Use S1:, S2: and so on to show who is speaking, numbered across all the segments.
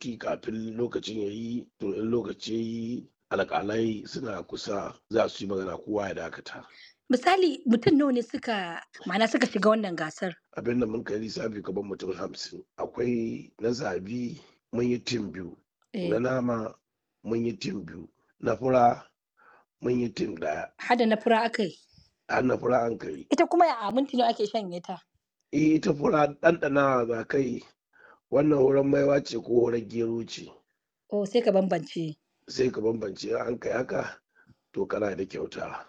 S1: Kafin lokacin ya yi, to in lokaci ya yi alƙalai suna kusa za su yi magana kowa ya dakata.
S2: Misali mutum nawa ne suka ma'ana suka shiga wannan gasar?
S1: Abin da mun kai lissafi kamar mutum 50. Akwai na zabi mun yi tim biyu, na nama mun yi tim biyu, na fura mun yi tim ɗaya.
S2: Hada na fura aka yi?
S1: Har na fura an kai.
S2: Ita kuma a minti nawa ake shanye ta?
S1: Eh, ita fura ɗanɗanawa za kai wannan horon maiwa ce ko horon gero ce.
S2: Oh, sai ka bambance.
S1: Sai ka bambance an kai haka to kana da kyauta.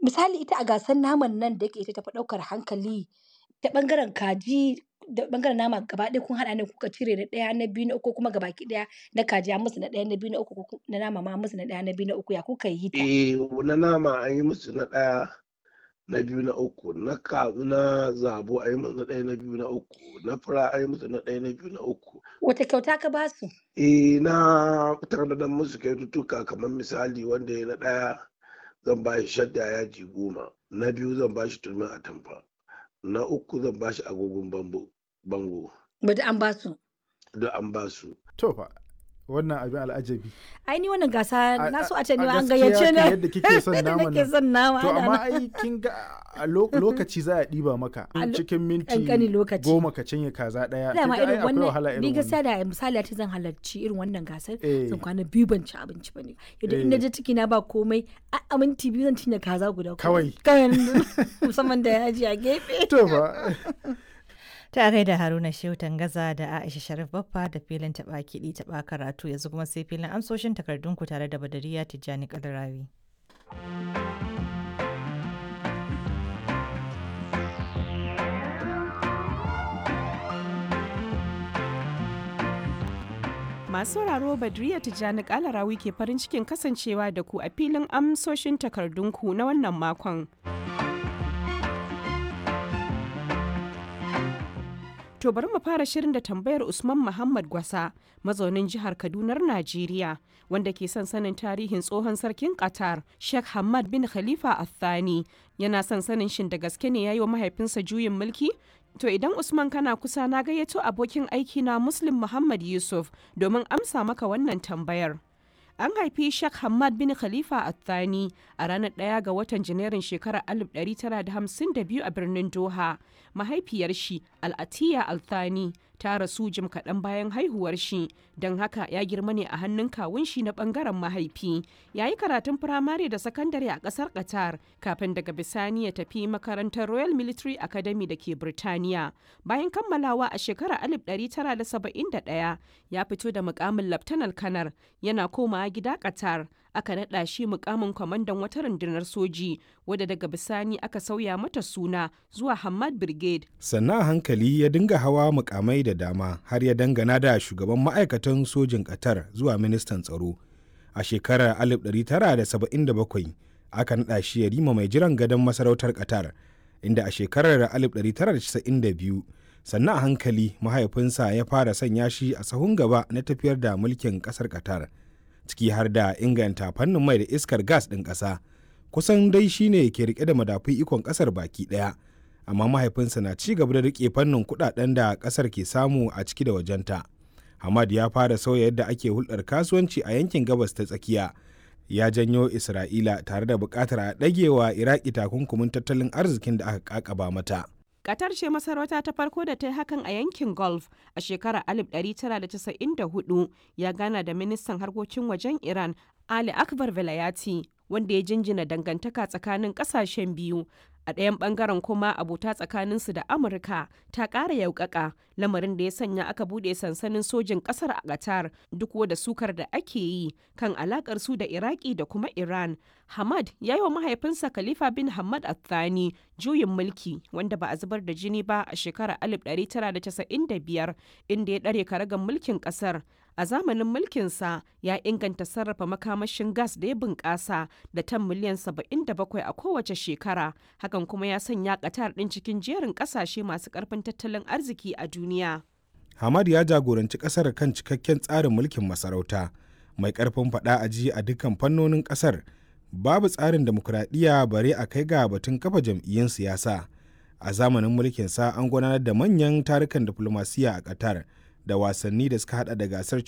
S2: Misali ita a gasar naman nan da yake ita tafi ɗaukar hankali ta ɓangaren kaji da ɓangaren nama gaba ɗaya kun haɗa ne kuka cire na ɗaya na biyu na uku kuma gabaki ɗaya na kaji an musu na ɗaya na biyu na uku na nama ma an musu na ɗaya na biyu na uku ya kuka yi ta?
S1: Eh, na nama an yi musu na ɗaya na biyu na uku, na ka na zabo an yi musu na ɗaya na biyu na uku, na fura an yi musu na ɗaya na biyu na uku.
S2: Wace kyauta ka ba su?
S1: Eh, na tanadar musu kyaututtuka kamar misali wanda ya na ɗaya zan ba shi shadda yaji 10, na biyu zan ba shi turmin atamfa, na uku zan ba shi agogon bango.
S2: Duk an ba su?
S1: Duk an ba su.
S3: To fa wannan abin al'ajabi.
S4: Ai ni wannan gasa na so a ce ni
S3: A
S4: ma an
S3: gaskiya
S4: gayyace
S3: kan
S4: ni.
S3: yadda kike son
S4: Yadda
S3: naman
S4: nake
S3: nan.
S4: son nama.
S3: To
S4: ana
S3: amma
S4: nan.
S3: ai kin ga a lokaci za a ɗiba maka
S4: A
S3: cikin minti
S4: ƙanƙanin lokaci.
S3: 10 ka cinye kaza ɗaya. Kin
S4: Dama
S3: ga ai
S4: irin
S3: akwai wahala
S4: wannan ni
S3: irin
S4: gaskiya
S3: wannan.
S4: da misali a ce zan halarci irin wannan gasar
S3: Eh.
S4: zan kwana biyu ban ci abinci ba ne. Yadda in
S3: Eh.
S4: na je ciki na ba komai a minti 2 zan cinye kaza guda.
S3: Kawai.
S4: Kawai musamman da yaji a gefe.
S3: To fa.
S5: Ta gaida Haruna Shehu Tangaza da Aisha Sharif Baffa da filin taɓa kiɗi taɓa karatu yanzu kuma sai filin amsoshin takardunku tare da Badariya Tijjani Kalarawi.
S6: Masu sauraro Badriya Tijjani Kalarawi ke farin cikin kasancewa da ku a filin amsoshin takardunku na wannan makon. To bari mu fara shirin da tambayar Usman Muhammad Gwasa, mazaunin jihar Kadunar Najeriya, wanda ke son sanin tarihin tsohon sarkin Qatar, Sheikh Hamad bin Khalifa Al-Thani. Yana son sanin shin da gaske ne ya yi wa mahaifinsa juyin mulki? To idan Usman kana kusa na gayyato abokin aiki na Muslim Muhammad Yusuf domin amsa maka wannan tambayar. An haifi Sheikh Hamad bin Khalifa Al-Thani a ranar 1 ga watan Janairun shekarar 1952 a birnin Doha. Mahaifiyar shi, Al-Atiya Al-Thani, ta rasu jim kaɗan bayan haihuwar shi, don haka ya girma ne a hannun kawun shi na ɓangaren mahaifi. Ya yi karatun firamare da sakandare a ƙasar Qatar kafin daga bisani ya tafi makarantar Royal Military Academy da ke Birtaniya. Bayan kammalawa a shekarar 1971 ya fito da mukamin Laftanar Kanar yana komawa gida Qatar. Aka naɗa shi mukamin kwamandan wata rundunar soji wadda daga bisani aka sauya mata suna zuwa Hamad Brigade.
S7: Sannan a hankali ya dinga hawa mukamai da dama har ya dangana da shugaban ma'aikatan sojin Qatar zuwa ministan tsaro. A shekarar 1977 aka naɗa shi yarima mai jiran gadon masarautar Qatar, inda a shekarar 1992 sannan a hankali mahaifinsa ya fara sanya shi a sahun gaba na tafiyar da mulkin ƙasar Qatar, ciki har da inganta fannin mai da iskar gas ɗin ƙasa. Kusan dai shine ke rike da madafun ikon ƙasar baki ɗaya. Amma mahaifinsa na ci gaba da rike fannin kudaden da kasar ke samu a ciki da wajenta. Hamad ya fara sauya yadda ake hulɗar kasuwanci a yankin gabas ta tsakiya. Ya janyo Isra'ila tare da buƙatar a ɗagewa Iraki takunkumin tattalin arzikin da aka ƙaƙaba mata.
S6: Qatar ce masarauta ta farko da ta yi hakan a yankin Gulf a shekarar 1994 ya gana da ministan harkokin wajen Iran Ali Akbar Velayati wanda ya jinjina dangantaka tsakanin kasashen biyu. A ɗayan ɓangaren kuma abota tsakaninsu da Amurka ta ƙara yaukaka lamarin da ya sanya aka buɗe sansanin sojin ƙasar a Qatar duk da sukar da ake yi kan alaƙar su da Iraki da kuma Iran. Hamad ya yi wa mahaifinsa Khalifa bin Hamad Al-Thani juyin mulki wanda ba a zubar da jini ba a shekarar 1995 inda ya ɗare karagar mulkin ƙasar. A zamanin mulkinsa ya inganta sarrafa makamashin gas da ya bunƙasa da tan miliyan 77 a kowace shekara. Hakan kuma ya sanya Qatar ɗin cikin jerin ƙasashe masu ƙarfin tattalin arziki a duniya.
S7: Hamad ya jagoranci kasar kan cikakken tsarin mulkin masarauta mai karfin faɗa a ji a dukkan fannonin kasar. Babu tsarin demokuraɗiyya bare a kai ga batun kafa jam'iyyun siyasa. A zamanin mulkinsa an gudanar da manyan tarukan diflomasiyya a Qatar. da wasanni da suka hada da gasar